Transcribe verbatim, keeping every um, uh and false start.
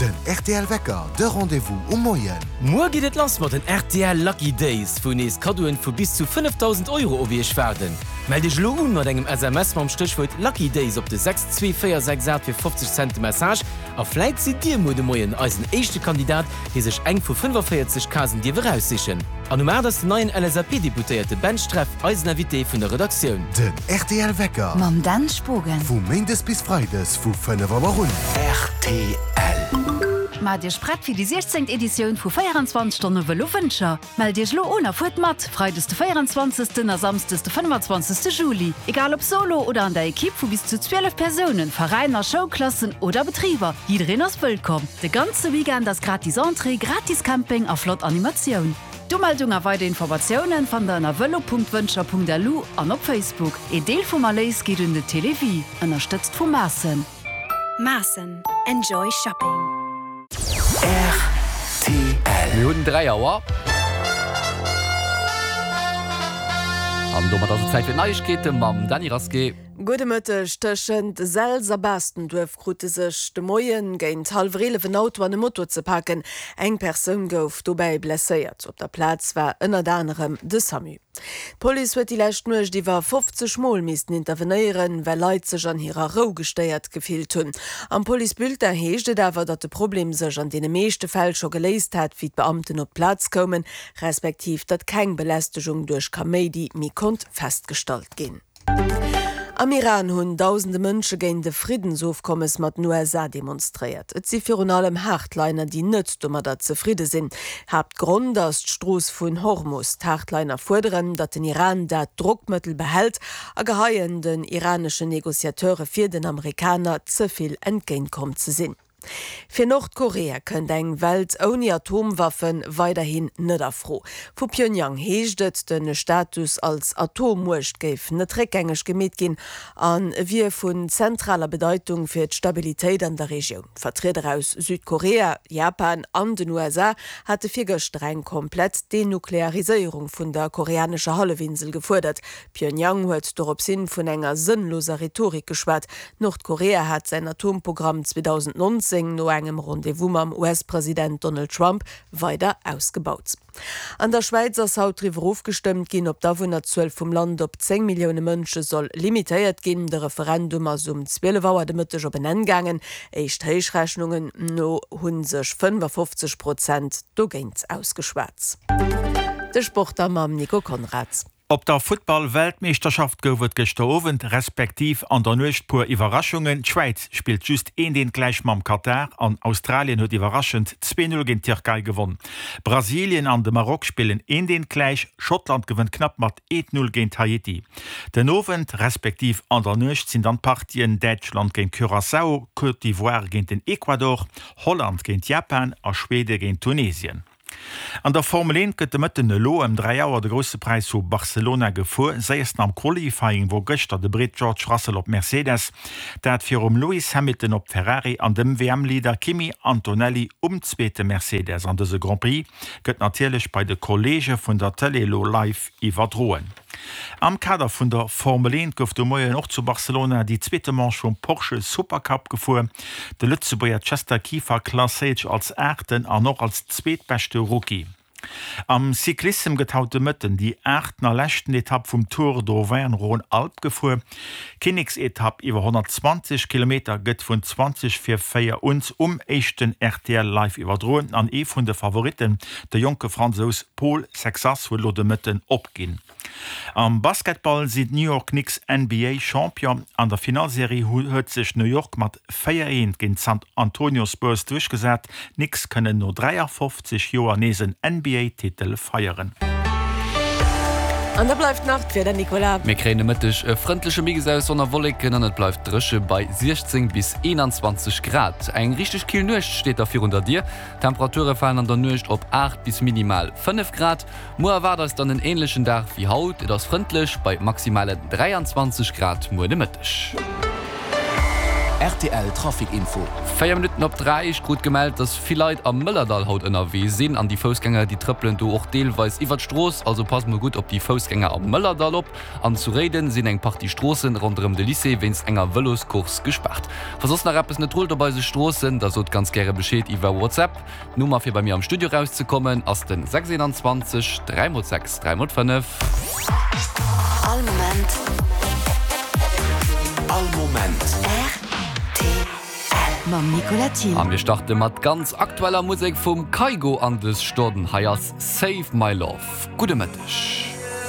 Den rtl Wecker, de Rendez-vous um Moien. Muer geet et lass mat den rtl Lucky Days, wou nees Kaddoen vu bis zu fënnefdausend Euro op iech waarden. Mellt iech elo un mat engem S M S mam Stéchwuert Lucky Days op de sechs zwee véier sechs aacht fir fofzeg Cent de Message a vläit sidd dir muer de Moien eisen éischte Kandidat, dee sech eng vu fënnefaféierzeg Casen dierf eraussichen. An um aacht ass den neien L S A P-Deputéierte Ben Streff eisen Invité vun der Redaktioun. Den rtl Wecker. Mam Dan Spogen. Vu Méindes bis Freides vu fënnef Auer un. R T L. Maacht Iech prett fir déi siechzéngt Editioun vu véierenzwanzeg Stonne Vëlo Wëncher. Mellt Iech lo un a fuert mat, Freides de véierenzwanzegsten a Samsdes de fënnefenzwanzegste Juli. Egal ob solo oder an der Ekipp vu bis zu zwielef Persounen, Veräiner, Schoulklassen oder Betriber, jiddereen ass wëllkomm. De ganze Weekend ass gratis Entrée, gratis Camping a flott Animatioun. D'Umeldung a weider Informatiounen fannt der ënner velo Punkt wëncher Punkt lu an op Facebook. Een Deel vum Erléis geet un de Télévie, ënnerstëtzt vu Maaßen. Maaßen. Enjoy shopping. R T L. Mir hunn dräi Auer. An domat ass et Zäit fir d'Neiegkeete mam Dany Rasqué. Gudde Mëtteg. Tëschent Selz a Baastenduerf krute sech de Moien géint hallwer eelef en Auto an e Moto ze paken. Eng Persoun gouf dobäi blesséiert. Op der Plaz war ënnert anerem de SAMU. D'Police huet déi lescht Nuecht iwwer fofzeg Mol missten intervenéieren, well Leit sech an hirer Rou gestéiert gefillt hunn. Am Policebulletin heescht et awer, datt de Problem sech an deene meeschte Fäll scho geléist hat, wéi d'Beamten op d'Plaz koumen, respektiv datt keng Belästegung duerch Kaméidi méi konnt festgestallt ginn. Am Iran hunn dausende Mënsche géint e Friddensofkommes mat den U S A demonstréiert. Et si virun allem Hardliner, déi net domadder zefridde sinn. Haaptgrond ass d'Strooss vun Hormus. D'Hardliner fuerderen, datt den Iran dat Drockmëttel behält a geheien den iraneschen Negociateure vir, den Amerikaner ze vill entgéintkomm ze sinn. Fir Nordkorea kënnt eng Welt ouni Atomwaffe weiderhin net a Fro. Vu Pyongyang heescht et, de Status als Atommuecht géif net réckgängeg gemeet ginn a wier vun zentraler Bedeitung fir d'Stabilitéit an der Regioun. Vertrieder aus Südkorea, Japan an den U S A hate virgëschter eng komplett Denukleariséierung vun der koreanescher Hallefinsel gefuerdert. Pyongyang huet doropshin vun enger sënnloser Rhetorik geschwat. Nordkorea hat säin Atomprogramm zweedausendnonzéng no engem Rendez-vous mam U S-President Donald Trump weider ausgebaut. An der Schwäiz ass haut driwwer ofgestëmmt ginn, ob d'Awunnerzuel vum Land op zéng Millioune Mënsche soll limitéiert ginn. De Referendum ass um zwielef Auer de Mëtteg op en Enn gaangen. Éischt Héichrechnungen no hu sech fënnefafofzeg Prozent dogéint ausgeschwat. De Sport da mam Nico Konrad. Op der Futtball-Weltmeeschterschaft gouf et gëschter Owend respektiv an der Nuecht puer Iwwerraschungen. D'Schwäiz spillt just eent eent gläich mam Katar an Australien huet iwwerraschend zwee null géint d'Tierkei gewonn. Brasilien an de Maroc spillen eent eent gläich, Schottland gewënnt knapp mat eent null géint Haiti. Den Owend respektiv an der Nuecht sinn dann d'Partien Däitschland géint Curaçao, Côte d'Ivoire géint den Ecuador, Holland géint Japan a Schwede géint Tunesien. An der Formel eent gëtt de Mëtten elo ëm dräi Auer de Grousse Präis vu Barcelona gefuer. Séiersten am Qualifying wor gëschter de Britt George Russell op Mercedes, dat virum Lewis Hamilton op Ferrari an dem W M-Leader Kimi Antonelli um zweete Mercedes. An dëse Grand Prix gëtt natierlech bei de Kolleege vun der Tëlee elo live iwwerdroen. Am Kader vun der Formel eent gouf de Moien och zu Barcelona déi zweete Manche vum Porsche Supercup gefuer. De Lëtzebuerger Chester Kieffer klasséiert sech als Aachten an och als zweetbeschte Rookie. Am Cyclissem gëtt haut de Mëtten déi aachten a leschten Etapp vum Tour d'Auvergne-Rhône-Alpes gefuer. D'Kinneksetapp iwwer honnertzwanzeg Kilometer gëtt vun zwanzeg vir véier un um éischten R T L live iwwerdroen an ee vun de Favoritten, de jonke Fransous Paul Sexas, huet elo de Mëtten opginn. Am Basketball sinn d'New York Knicks N B A Champion. An der Finallserie huet sech New York mat véier eent géint d'San Antonio Spurs duerchgesat. D'Knicks kënnen no dräiafofzeg Joer nees en N B A Titel feieren. An da bleift nach d'Wieder, Nicolas. Mir kréien de Mëtteg e frëndleche Mix aus Sonn a Wolleken an et bleift dréche bei siechzéng bis eenanzwanzeg Grad. Eng richteg kill Nuecht steet da virun der Dier. D'Temperature falen an der Nuecht op aacht bis minimal fënnef Grad. Muer erwaart eis dann en änlechen Dag wéi haut, et ass frëndlech bei maximalen dräianzwanzeg Grad muer de Mëtteg. Rtl Trafic Info. Véier Minutten op dräi, ech krut gemellt, dass vill Leit am Mëllerdall haut ënnerwee sinn an déi Foussgänger, déi trëppelen do och deelweis iwwer d'Strooss. Also passt mol gutt op déi Foussgänger am Mëllerdall op. An zu Réiden sinn eng Partie Stroossen ronderëm de Lycée wéinst enger Vëloscourse gespaart. Wa soss nach eppes net rullt op eise Stroossen, da sot ganz gäre Bescheed iwwer WhatsApp. D'Nummer fir bei mir am Studio rauszekommen ass den sechs eenanzwanzeg dräi mol sechs dräi mol fënnef. All Moment. All Moment. Rtl. Mam Nicolas Thiel. A mir starte mat ganz aktueller Musek vum Kygo an dës Stonn. Hei ass Save My Love. Gudde Mëtteg.